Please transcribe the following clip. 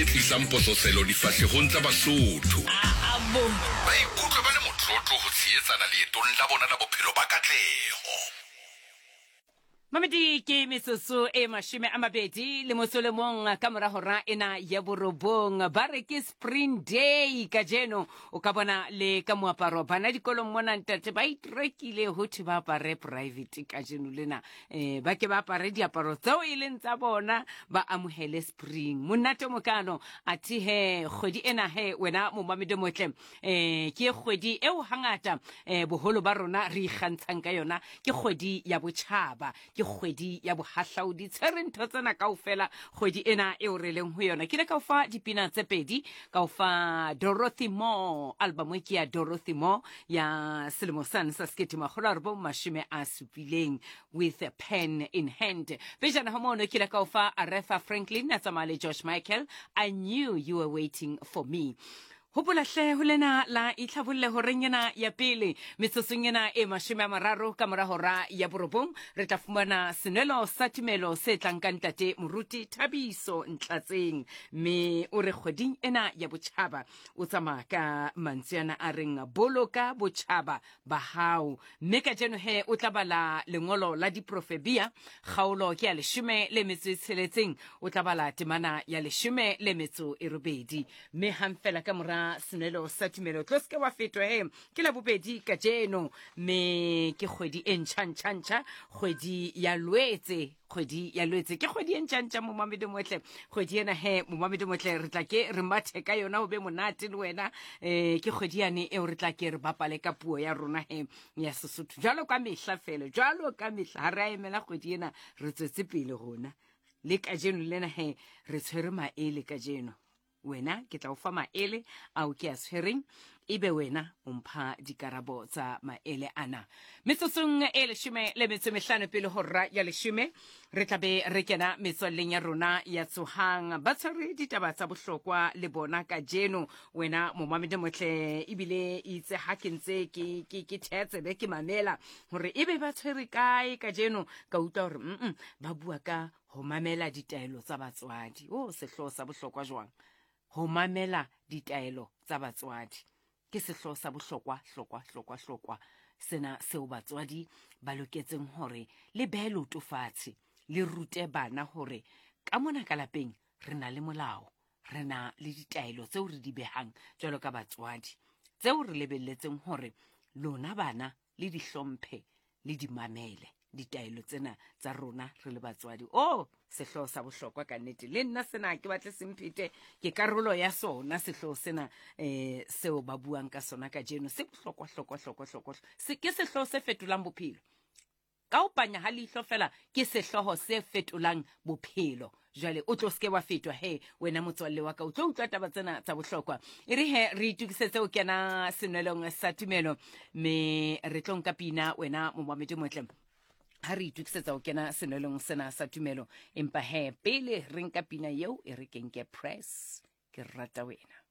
e tlisang pososelo difahlehong tsa Basotho. Ba ikutlwe ba le motlotlo ho tshehetsana leetong la bona la bophelo ba katleho. Mamedi ke metsotso e 20 le motso le mong ka mora hora ena ya borobong. Ba re ke Spring Day kajeno. O ka bona le ka moaparo bana dikolong mona ntate ba itrekile ho thwe ba apare private kajeno lena. Ba ke ba apare diaparo tseo e leng tsa bona ba amohele spring. Monate o mokalo athe he kgwedi ena he wena momamedi o motle ke kgwedi eo hangata boholo ba rona re ikgantshang ka yona. Ke kgwedi ya botjhaba, ke kgwedi ya bohahlaudi. Tshwere ntho tsena kaofela kgwedi ena eo re leng ho yona. Ke ile ka o fa dipina tse pedi, ka o fa Dorothy Moore, album e ke ya Dorothy Moore ya selemo sane sa 1970 with a pen in hand. Pejana ho mono ke ile ka o fa Aretha Franklin a tsamaya le George Michael, I Knew You Were Waiting For Me. Hopola hle ho lena la itlhabolle horeng ena ya pele metsotsong ena e 30 ka mora hora ya borobong re tla fumana senwelo sa tumelo se tlang ka ntate Moruti Thabiso Ntlatseng, mme o re kgweding ena ya botjhaba o tsamaya ka mantswe ana a reng boloka botjhaba ba hao. Mme kajeno he o tla bala lengolo la Diprofebia kgaolo ke ya 16, o tla bala temana ya 18. Mme hang fela ka mora senwelo sa tumelo tlo seke wa fetwa he ke la bobedi kajeno, mme ke kgwedi e ntšha ntšha ntšha, kgwedi ya Lwetse, kgwedi ya Lwetse ke kgwedi e ntšha ntšha momamedi motle. Kgwedi ena he momamedi motle re tla ke re mathe ka yona ho be monate le wena. Ke kgwedi yane eo re tla ke re bapale ka puo ya rona he ya Sesotho jwalo ka mehla fela, jwalo ka mehla ha re a emela kgwedi ena, re tswetse pele rona le kajeno lena he re tshwere maele kajeno. Wena ke tla o fa maele ao ke a tshwereng, ebe wena o mpha dikarabo tsa maele ana. Metsotsong e 15 pele hora ya 10 re tla be re kena metswalleng ya rona ya Tsohang. Ba tshwere ditaba tsa bohlokwa le bona kajeno. Wena momamedi motle, ebile itse ha ke ntse ke thea tsebe ke mamela hore ebe ba tshwere kae kajeno, ka utlwa hore ba bua ka ho mamela ditaelo tsa batswadi. O sehlooho sa bohlokwa jwang? Ho mamela ditaelo tsa batswadi ke sehlooho sa bohlokwa, hlokwa, hlokwa, hlokwa sena seo batswadi ba loketseng hore le behe leoto fatshe, le rute bana hore ka mona ka lapeng re na le molao, re na le ditaelo tseo re di behang jwalo ka batswadi, tseo re lebelletseng hore lona bana le di hlomphe, le di mamele ditaelo tsena tsa rona re le batswadi. O sehlooho sa bohlokwa ka nnete, le nna sena ke batle semphete, ke karolo ya sona sehlooho sena seo ba buang ka sona kajeno. Se bohlokwa, hlokwa, hlokwa, hlokwa. Se ke sehlooho se fetolang bophelo ka ho panya ha leihlo fela, ke sehlooho se fetolang bophelo. Jwale o tlo seke wa fetwa he wena motswalle wa ka, o tlo utlwa taba tsena tsa bohlokwa. E re he re itokisetse ho kena senwelong sa tumelo, mme re tlo nka pina wena momamedi motle ha re itokisetsa ho kena senwelong sena sa tumelo. Empa he pele re nka pina eo, e re ke nke press, ke rata wena.